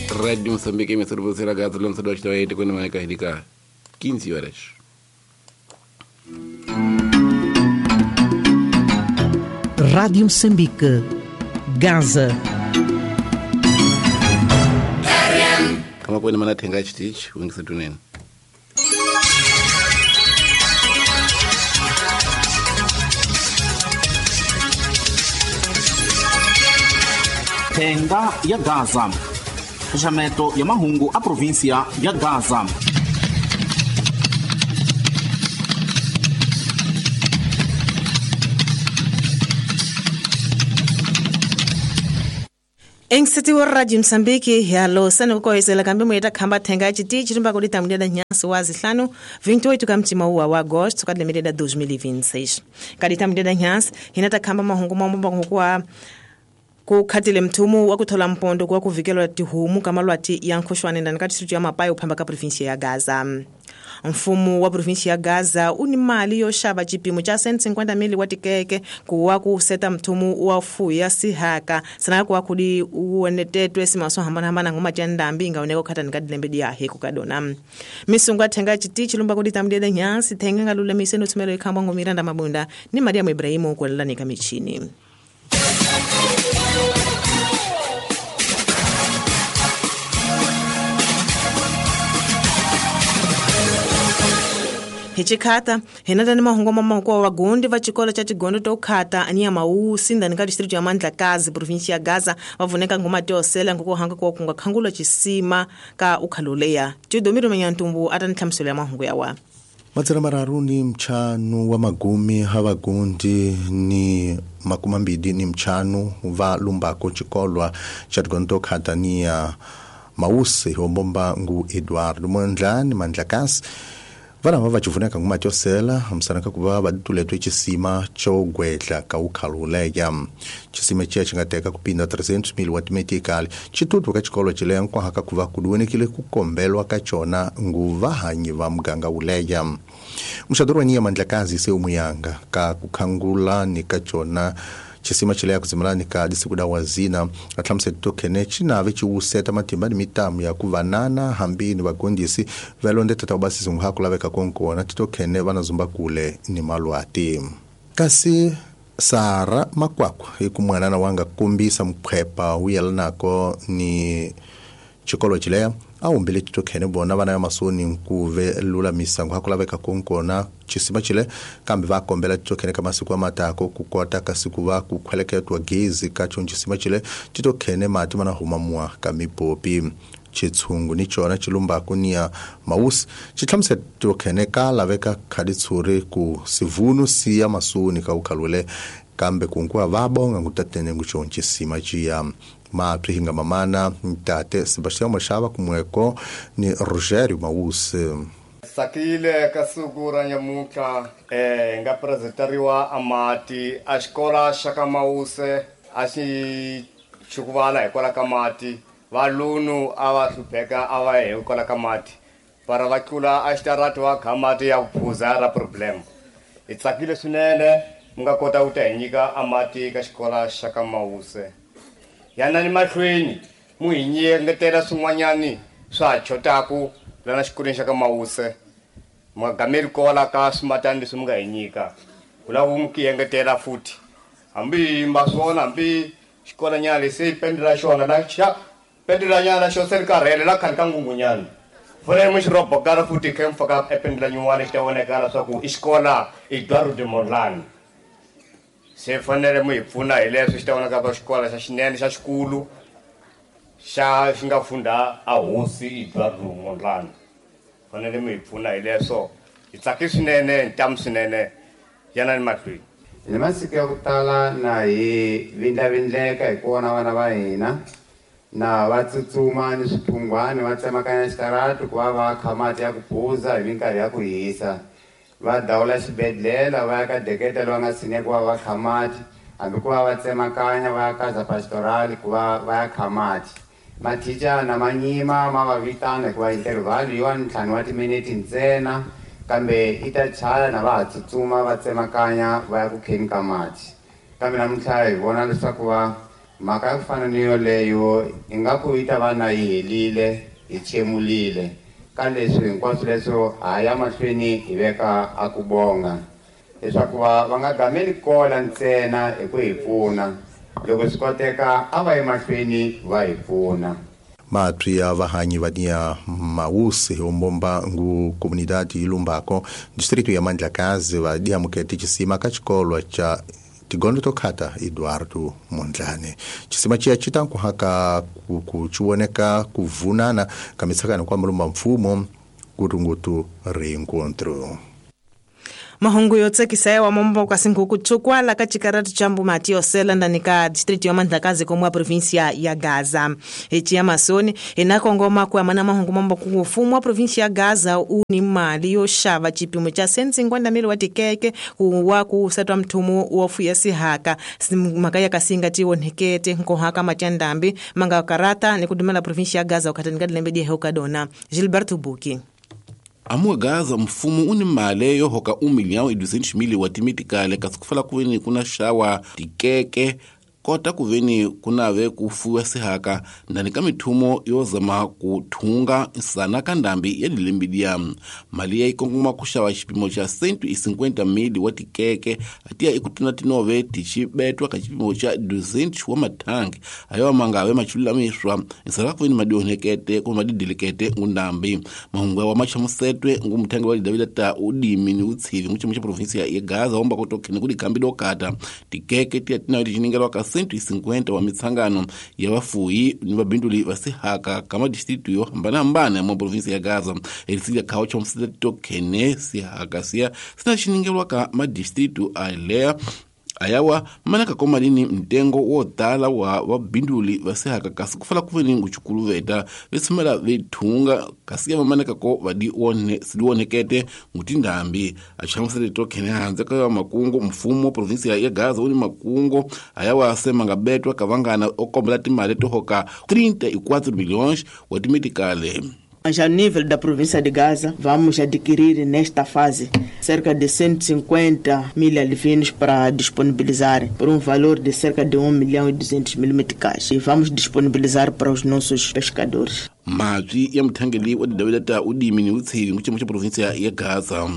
Rádio Moçambique, emissora você Gaza, lançador de 8, quando vai carregar 15 horas. Rádio Moçambique, Gaza. Kama kwene mana thenga chitichi, wengisa tunene. Thenga ya Gaza. Xaxameto ya mahungu a província ya Gaza. Engsiti wa Radio Msambiki yalo sana ukoyesela kambe mweta khamba thenga chitichi rimba kuli tamuleda nyansi wa zihlanu 28 kamtima uwa wa Agosto kadlemeleda 2026 kadi tamuleda nyansi hinata khamba mahungu mambo kwa kukhatile mthumu wa kuthola mpondo kwa kuvikelwa tihumu kamalwati ya nkhoxwane ndani ka district ya Mapai uphamba ka province ya Gaza. Mfumo wa province ya Gaza uni mali yo xava xipimo xa 150 mili wa tikeke kuwa ku seta mthumu wa fuya sihaka sana kuwa kudi uonetetwe simaso hambana ngoma tya ndambi ingaoneka khatani ka dilembe dia heku kadona. Misungu athenga chitichi lumba kudi tamdede nyansi thenga ngalulamise no thumelo ikhamba ngomiranda mabunda ni Mariam Ibrahimu kwelelani ka michini. Hichikhata hinata ni mahungu mamako wa gundi va xikolo xa tigondo to khata aniya mawusi ndani ka district ya Mandlakazi province ya Gaza va vuneka ngoma tiosela ngoko hanga kwa kunga khangula xisima ka ukhaloleya Tidomiro Manyantumbu ata nhlamuselo ya mahungu ya wa Matsera mararu ni mchanu wa magumi havagundi ni makumi mbili ni mchanu va lumbako xikolwa xa tigondo to khata niya mawusi hombomba ngu Eduardo Mondlane Mandlakazi vana va vacivuneka nguma tyosela hamsanaka ku va va tuletwe xisima xo gwedla ka ukhaluleya xisima xiya xi nga teka ku pinda 300 mil wa timetikali xitutu ka xikolo xileya nkwahaka ku va ku duwenekile ku kombelwa ka xona ngu vahanyi va muganga wuleya muxadori wa niya Mandlakazi se umuyanga ka ku khangula ni ka xona xisima xileya kuzimelani ka disikuda wazina atlhamuse tokhene xinave xiwuseta matimba ni mitamu ya ku vanana hambi ni vagondisi valondeta ta ubasisi nguha ku laveka konkona titokhene vana zumba kule ni malwati kasi Sara Makwakwa hi ku mwanana wanga kombisa mukhwepa wu yelanako ni xikolo xileya a humbile titokhene vona vana ya masoni nkuve lulamisa nguha ku laveka konkona xisima xile kambe va kombela titokhene ka masiku amatako ku kota kasi ku va ku khweleketwa gezi ka xona xisima xile titokhene mati mana huma muwa ka mipopi xitshungu ni xona xilumbaku niya mawusi xi hlamusela titokhene ka laveka khaditshuri ku sivunu siya masoni ka ukhalule kambe kunkuwa va bonga ngutatene ngu xona xisima xiya mapri hinga mamana ntate Sebastião Machava kumweko ni Rogério Mawusi. Sakile ka siku ra nyamuntlha nga presenteriwa amati a xikola xa ka Mawuse a xi chukuvala hikwalaho ka mati valunu a va hlupheka a va hikwalaho ka mati para va tlula a xitarati va kha mati ya ku phuza ra problem. Hi tsakile swinene mi nga kota ku ta hi nyika amati ka xikola xa ka Mawuse. Yanani mahlweni mu hi nyengetela swin'wanyani swa ha chotaku lana xikolweni xa ka Mawuse mi nga gameli kola ka swimatani leswi mi nga hi nyika ku lava mu ki engetela futhi hambi ma swona hambi xikolanyana lexi se pendela xona la xa pendelanyana xo se ri karhele la khani ka ngungunyana fanele mi xi robokala futhi khe mi faka ependela nyuwana xi ta vonakala swa ku i xikola Eduardo de Mondlane se fanele mi hi pfuna hi leswi xi ta vonaka ka xikola xa xinene xa xikulu xa xi nga funda a hosi Eduardo Mondlane fanele mi hi pfuna hi leswo hi tsaki swinene ntamu swinene yanani mahlweni. Hi masiku ya ku tala na hi vindlavindleka hi ku vona vana va hina na va tsutsuma ni swiphungwani va tsemakanya xitarati ku va va kha mati ya ku phuza hi minkarhi ya ku hisa va dawula xibedhlele va ya ka deketa loyi a nga tshineki ku va va kha mati hambi ku va va tsemakanya va ya ka pastoral ku va va ya kha mati mathichana ma nyima ma va vitana hikuva interval yi wa ntlhanu wa timinete ntsena kambe i ta chaya na va ha tsutsuma va tsemakanya va ya ku kheni ka mati kambe namuntlha hi vona leswaku va Mhaka ya ku fana ni yoleyo ingaku yi ta va na yi helile hi chemulile ka leswi hinkwaswo leswo ha ya mahlweni hi veka a ku bonga leswaku va nga gameli kola ntsena hi ku hi pfuna loko swi koteka a va ye mahlweni va hi pfuna. Matwi ya vahanyi vania Mausi ombomba ngu comunidade ilumbako distrito ya Mandlakazi vadiamukete cisima ka xikolwa cha tigondo tokhata Eduardo Mondlane. Cisima ciya citankuhaka kuciwoneka kuvunana ka mitsakano kwa mulumba mfumo kutungutu reencontro. Mahungu yo tsakisa ya wamombo kwa singuku tsukwala ka chikaratu cha Mbumati yosela ndani ka distrito ya Mandlakazi komwa província ya Gaza. Eci ya masoni inakongoma kwa mana mahungu mambo kufumu wa província ya Gaza uni mali yo xava chipimo cha 150 wa tikeke kuwa kusatwa mthumu wofu ya sihaka mhaka ya kasinga tionhekete nkohaka machandambi manga karata ni kudumela província ya Gaza ukatani ka dilembe di dona Gilberto Buki. Amuwa Gaza mfumo uni male yo hoka 1,200,000 wa timitikale kasi kufala kuveni kuna xawa tikeke kota kuveni kunave kufuwa sihaka ndani ka mithumo yo zama kuthunga nsana ka ndambi ya dilembidia. Mali ya ikongoma kuxava xipimo xa 150,000 wa tikeke atiya ikutuna tinove tixibetwa ka xipimo xa 200 wa mathangi ayo mangave machulamishwa nsana kuveni madionekete kumbe madidilikete ngundambi. Mahungu wa machamusetwe ngumthangi wa Davida ta udimi ni utsivi nguchimo xa provinsia ya Gaza omba kotokhene kudi dokata tikeke tiya tinayo tichiningelwa ka 150 wa mitsangano ya vafuyi ni vabinduli va sihaka ka madistritu yo hambanahambana mwa provinsi ya Gaza. Elisilia khao cha msitetokhene sihaka siya sina chiningelwa ka madistritu alea ayawa manaka komalini mtengo wo tala wa vabinduli va sihaka kasi kufala kuveni nguchukuluveta vesumela vethunga kasi ya manaka ko vadi one siliwonekete ngutindambi. Achamusele tokhene hanze ka makungu mfumo provinsia ya Gaza uni makungu ayawa asema ngabetwa kavangana okombela timali tohoka 34 milhões wa timitikale. Já no nível da província de Gaza, vamos adquirir nesta fase cerca de 150 mil alevinos para disponibilizar por um valor de cerca de 1.200.000 meticais. E vamos disponibilizar para os nossos pescadores. Matwi ya muthangeli wa didavela udimi ni utsivi nguchimo cha província ya Gaza.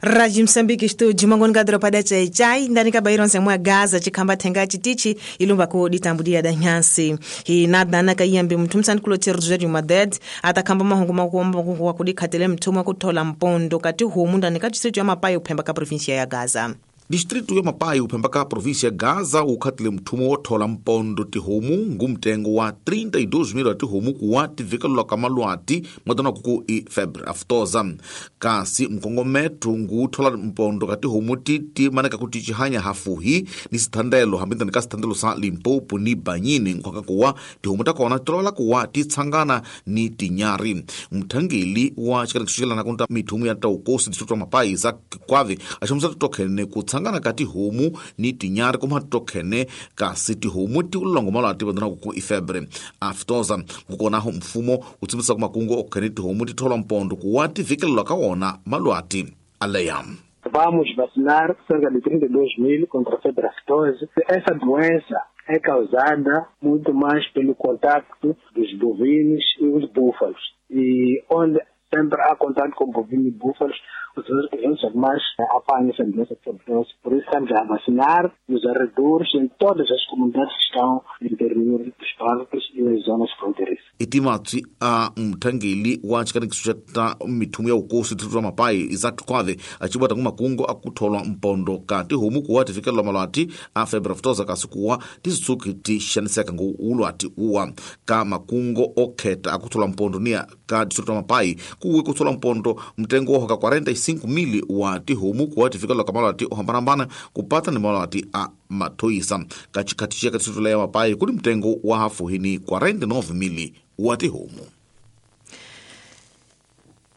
Rádio Moçambique estúdio mangoni ka doropa da Chai ndani ka bairo nsemwa Gaza chikhamba thenga chitichi ilumba ko ditambudia da nyansi hi na ka yambe muthu msani kulo Rogério Maded atakhamba mahungu makombo wa kudikhatele mthuma kuthola mpondo kati homu ndani ka distrito ya Mapai uphemba ka província ya Gaza. Distrito ya Mapai uphemba ka província ya Gaza ukhatile mthumo wothola mpondo tihomu ngumtengo wa 32,000 wa tihomu kuwa tivikelelwa ka malwati mwatana kuku i febre aftosa. Kasi mkongometho nguthola mpondo ka tihomu titi maneka kuti chihanya hafuhi ni sithandelo hambintani ka sithandelo sa Limpopo ni Banyini nkhwaka kuwa tihomu takona tolola kuwa titsangana ni tinyari. Mthangeli wa xikanikixixelana kunta mithumu ya taukosi distrito ya Mapai za Kwavi axamusa titokhene ku tsangana ka tihomu ni tinyari kuma tokhene kasi tihomu ti ulongo malwati vandana ku ifebre aftosa. Kukonaho mfumo utsimbisa ku makungu okhene tihomu ti thola mpondo kuwa ti vikelelwa ka wona malwati aleya. Vamos vacinar cerca de 32 mil contra a febre aftosa. Essa doença é causada muito mais pelo contato dos bovinos e os búfalos. E onde sempre há contato com bovinos e búfalos, os outros animais apanham essa doença. Por isso estamos a vacinar nos arredores, em todas as comunidades que estão no interior dos parques e nas zonas fronteiriças. Itimatsi a mthangeli wa xikanikixo xa mithumu ya ukosi distrito ya Mapai Isaac Kwave acibata ngumakungu akutholwa mpondo ka tihomu kuwa tifikelelwa malwati a febre aftosa kasi kuwa tisitsuki ti xaniseka ngu ulwati uwa ka makungu okheta akutholwa mpondo niya ka distrito ya Mapai kuwe kutholwa mpondo mtengo wa hoka 45,000 wa tihomu kuwa tifikelelwa ka malwati ohambanahambana kupata ni malwati a mathoyisa. Ka xikhati xiya ka distrito ya Mapai kuli mtengo wa hafuhini 49,000 wa tihomu.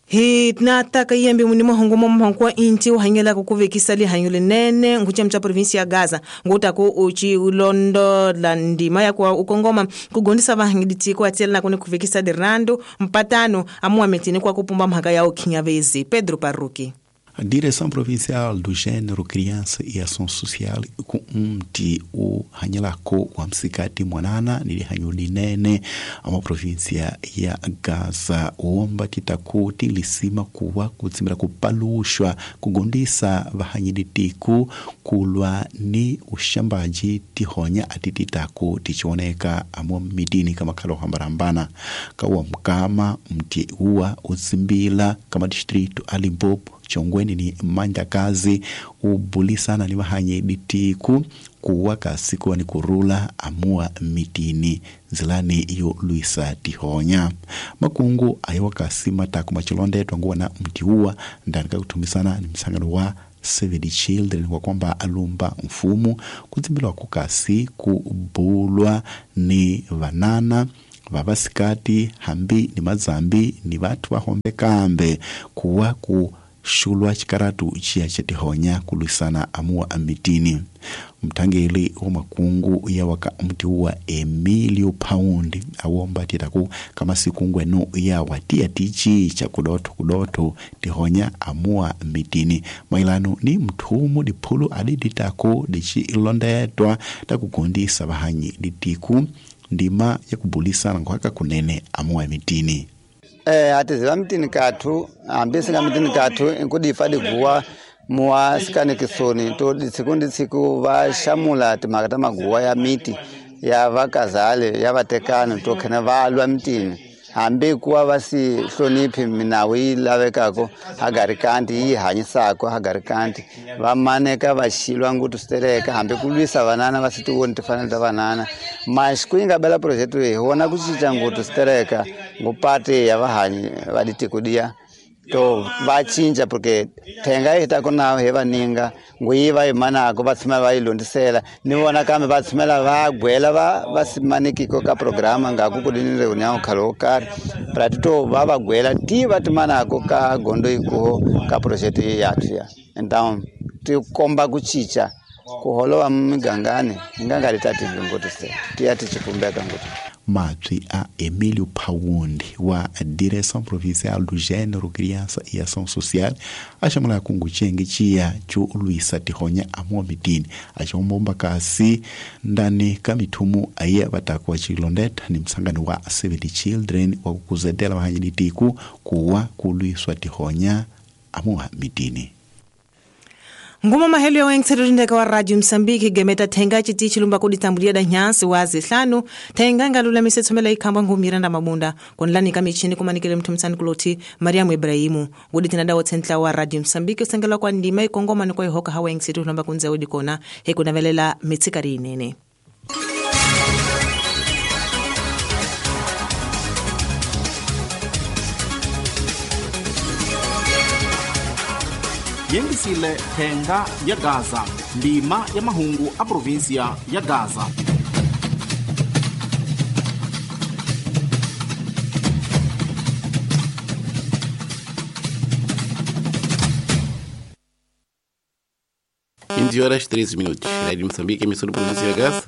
Hi nataka yembe muni mahungu mahungu wa inti uhanyela kukuvekisa lihanyo linene nguchemcha provinsi ya Gaza ngutako uchi ulondo la ndima ya kwa ukongoma kugondisa vahangiditi kwa tela na kuni kuvekisa dirando mpatano amuwa metini kwa kupumba mhaka ya ukinyavezi. Pedro Parruki. A Direção Provincial do Gênero, Criança e Ação Social ku mti uhanyelako wa msikati mwanana ni lihanyo linene ama província ya Gaza uomba titaku tilisima kuwa kutsimira kupalushwa kugundisa vahanyilitiku kulwa ni ushambaji tihonya atititaku tichioneka amo mitini kama kalo hambarambana kawa mkama mti uwa utsimbila kama distrito a Limpopo chongweni ni mandakazi ubulisana ni vahanye ditiku kuwa kasikuwa ni kurula amua mitini nzilani iyo luisa tihonya makungu ayiwa kasi mataku machilondetwa nguwa na mti uwa ndani kakuthumisana ni msangano wa Save the Children kwa kwamba alumba mfumo kutsimbilwa kukasi kubulwa ni vanana vavasikati hambi ni mazambi ni vathu vahombe kambe kuwa ku xulwa xikaratu xiya xa tihonya ku lwisana amuwa amitini mthangeli wa makungu ya waka mti wa Emilio Paundi awomba titaku kama siku ngwenu ya watia tichi cha kudotho kudotho tihonya amuwa mitini mailano ni mthumu diphulu adiditako dichi ilondetwa takugondisa vahanyi ditiku ndima ya kubulisana nkhwaka kunene amuwa mitini. Atiziva mitini kathu hambi singa mitini kathu inkudifa diguwa muwa sikanikisoni to tsiku ndi tsiku va xamula timhaka ta maguwa ya miti ya vakazale ya vatekani to khena va lwa mitini hambi kuwa va si hloniphi minawu yi lavekako hagarikanti yi hanyisako hagarikanti va maneka va xilwa nguthu switereka hambi ku lwisa vanana va si ti voni timfanelo ta vanana mas ku yi nga bela project leyi hi vona ku cinca nguthu switereka ngupati ya vahanyi va ditiko diya to va cinca porque thenga yi ta ku na hi vaninga nguyi va yi manako va tshama va yi londisela ni vona kambe va tshumela va gwela va simanikiko ka programa ngaku ku ni reunião khale wo karhi prati to va gwela ti va ti manako ka gondo ikuho ka project yathu ya então ti komba ku cinca ku holova migangani hi nga nga ri ta tivi ngoti se ti ya ti cikumbeka ngoti. Mabyi a Emílio Paundi wa Direção Provincial do Gênero, Criança e Ação Social a chamula kungu chenge chiya cho lwisa tihonya amuwa mitini achombomba kasi ndani ka mithumu aye vatakuwa chilondetha ni msangano wa Save the Children wa kukuzetela vahanyilitiku kuwa kulwiswa tihonya amuwa mitini. Nguma mahelo ya wengitsetulindeka wa Radio Msambiki gemeta thenga chiti chilumba kuditambulia da nyansi wa zihlanu thenga ngalula tsomela ikhamba ngumiranda mabunda konlani kamichini kumanikele mthu msani kuloti Mariamu Ibrahimu ngudi tinada wotsentla wa Radio Msambiki usengela kwa ndima ikongoma ni kwa ihoka hawa wengitsetulomba kunze udikona hekunavelela mitsikari inene. Yengisile thenga ya Gaza ndima ya mahungu a província ya Gaza. Horas 13 minutos. Rádio Moçambique, emissora da província ya Gaza,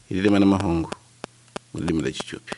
e de Mahungu, no Lima da Etiópia.